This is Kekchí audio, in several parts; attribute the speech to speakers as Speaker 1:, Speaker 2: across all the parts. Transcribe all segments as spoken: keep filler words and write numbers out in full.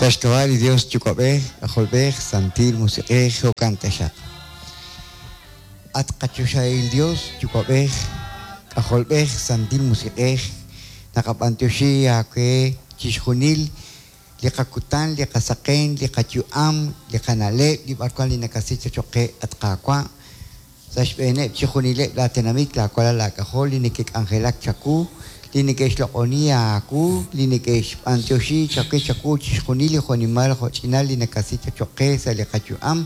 Speaker 1: Sa' xk'ab'a' li Dios Yuwa'b'ej, K'ajolb'ej, Santil Musiq'ej, jo'kan taxaq. At qachoxahil Dios Yuwa'b'ej, K'ajolb'ej, Santil Musiq'ej, naqab'antioxi aawe chixjunil li qakutan, li qasaqen, li qayu'am, li qana'leb', li b'arwan li nakasi choq qe at Qaawa'. Sa' xb'eeneb' chixjunileb' laatenamit, laawalal laak'ajol li neke'k'anjelak chawu, li neke'xloq'oni aawu, li neke'xb'antioxi chawe chawu chixjunil li jo'nimal jo'ch'inal li nakasi choq qe sa' li qayu'am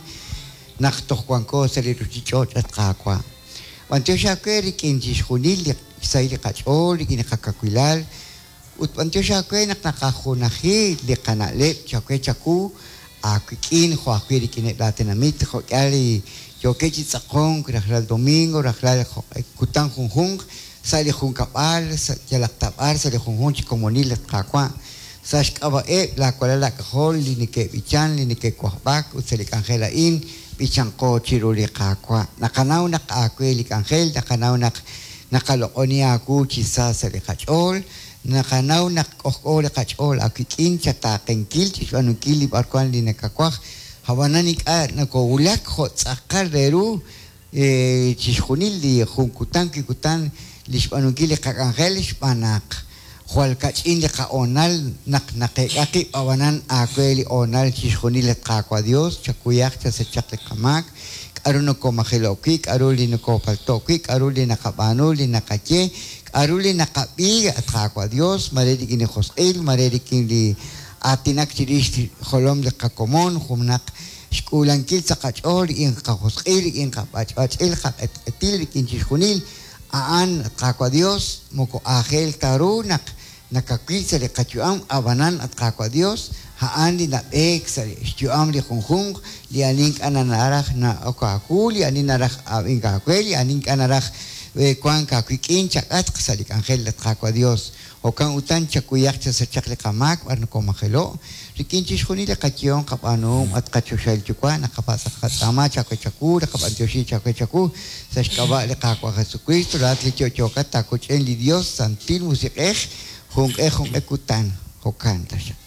Speaker 1: naq toj wanko sa' li ruchich'och' at Qaawa'. B'antiox aawe rik'in chixjunil li xsahil li qach'ool, rik'in li qakawilal, ut b'antiox aawe naq naqajunaji li qana'leb' chawe chawu aawik'in jo' ajwi' rik'ineb' laatenamit jo'k'ihal li yookeb' chi tz'aqonk rajlal domingo, rajlal kutan junjunq sa' li junkab'al, sa' yalaq tab'ar, sa' li junjunq chi komonil at Qaawa'. Sa' xk'ab'a'eb' laawalal laak'ajol li neke'b'ichan, li neke'wajb'ak ut sa' li k'anjel a'in b'ichanqo chiru li Qaawa'. Naqanaw naq aawe li k'anjel, naqanaw naq naqaloq'oni aawu chi sa sa' li qach'ool, naqanaw naq k'ojk'o li qach'ool aawik'in chataaqenkil chixb'aanunkil li b'arwan li nakawaj. Ab'anan ink'a' nakowulak jo' tz'aqal re ru chixjunil li jun kutan wi kutan li xb'aanunkil li qak'anjel xb'aan naq jwal kach'in li qa'oonal naq naqeek'a qib' ab'anan aawe li oonal chixjunil at Qaawa' Dios chakuyaq chasachaq li qamaak, k'aru nokomajelo'k wi', k'aru li nokopalto'k wi', k'aru li naqab'aanu, li naqaye, k'aru li naqab'i at Qaawa' Dios, mare rik'in li josq'il, mare rik'in li aatinak chirix jolom li qakomon, junaq xk'uulankil sa' qach'ool rik'in qajosq'il, rik'in qab'ach'b'ach'il, qaq'etq'etil, rik'in chixjunil a'an at Qaawa' Dios moko aajel ta ru naq nakawil sa' li qayu'am ab'anan at Qaawa' Dios a'an li nab'eek sa' xyu'am li junjunq li ani ink'a' naraj na'ok aawu, li ani naraj ab'ink aawe, li ani ink'a' naraj wank aawik'in chak'atq sa' li k'anjel at Qaawa' Dios. Jo'kan utan chakuyaq chasachaq li qamaak b'ar nokomajelo' rik'in chixjunil li qayehom qab'aanuhom at qachoxahil Yuwa' naqapatz' qatz'aama chawe chawu, naqab'antioxi chawe chawu sa' xk'ab'a' li Qaawa' Jesucristo laa'at li yo'yookat taakoch'en li Dios Santil Musiq'ej junq'e junq'e kutan jo'kan taxaq.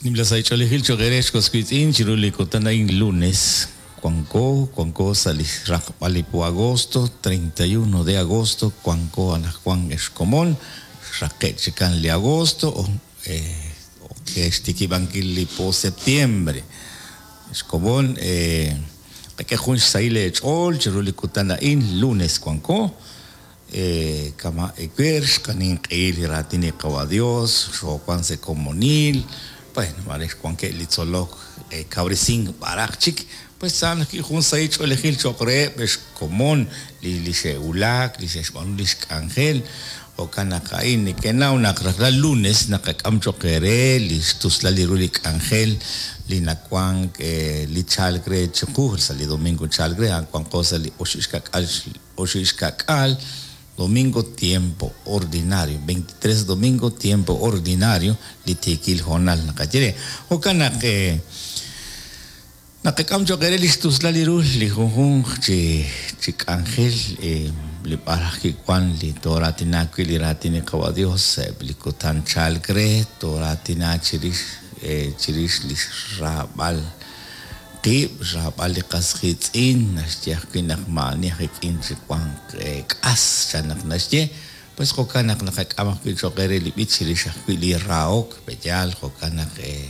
Speaker 2: Nimla saych'oolejil choq' eere xkoswitz'in chiru li kutan a'in lunes Cuanco, Cuanco sali raqb'al agosto, treinta y uno de agosto, Cuanco anajwan exkomon, raqe' chikan li agosto, o eh, que xtikibankil li po septiembre. Exkomon, eh, qak'e jun xsahil eech'ool chiru li kutan a'in lunes Cuanco, eh, kama ewer xqanin q'ehil li raatin li Qawa' Dios, xoowan sa' komonil, bueno, mare xwankeb' li tzolok, eh, kawresink b'araq chik, pues saan jun sahil ch'oolejil choq' reheb' xkomon li li xe'wulak, li xe'xb'aanu li xk'anjel, jo'kan naq a'in neke'naw naq rajlal lunes naqak'am choq' eere li xtuslal li ru li k'anjel li nawank eh, li chalk re chiqu sa' li domingo chalk re, wanqo sa' li oxib' xka'k'aal oxib' xka'k'aal domingo tiempo ordinario, veintitrés domingo tiempo ordinario li tiikil hoonal naqaye re. Jo'kan naq eh, naqak'am choq' eere li xtuslal li ru li junjunq chi chi k'anjel eh, li b'araj kiwan li tooraatina wi' li raatin li Qawa' Dios eb' li kutan chalk re tooraatina chirix eh, chirix li xraab'al qib', xraab'al li qas qiitz'in, naxye ajwi' naq ma'ani ajik'in chi wanq eh, k'as chan naq naxye, pues jo'kan naq naqak'am ajwi' choq' eere li b'ich chirix ajwi' li rahok pe'yaal, jo'kan naq eh,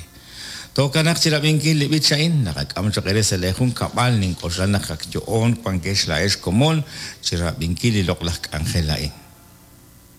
Speaker 2: to'kanaq chirab'inkil li b'ich a'in, naqak'am choq' eere sa' li junkab'al nink'oxla naq ak yo'on wankex laa'ex komon chirab'inkil li loq'laj k'anjel a'in.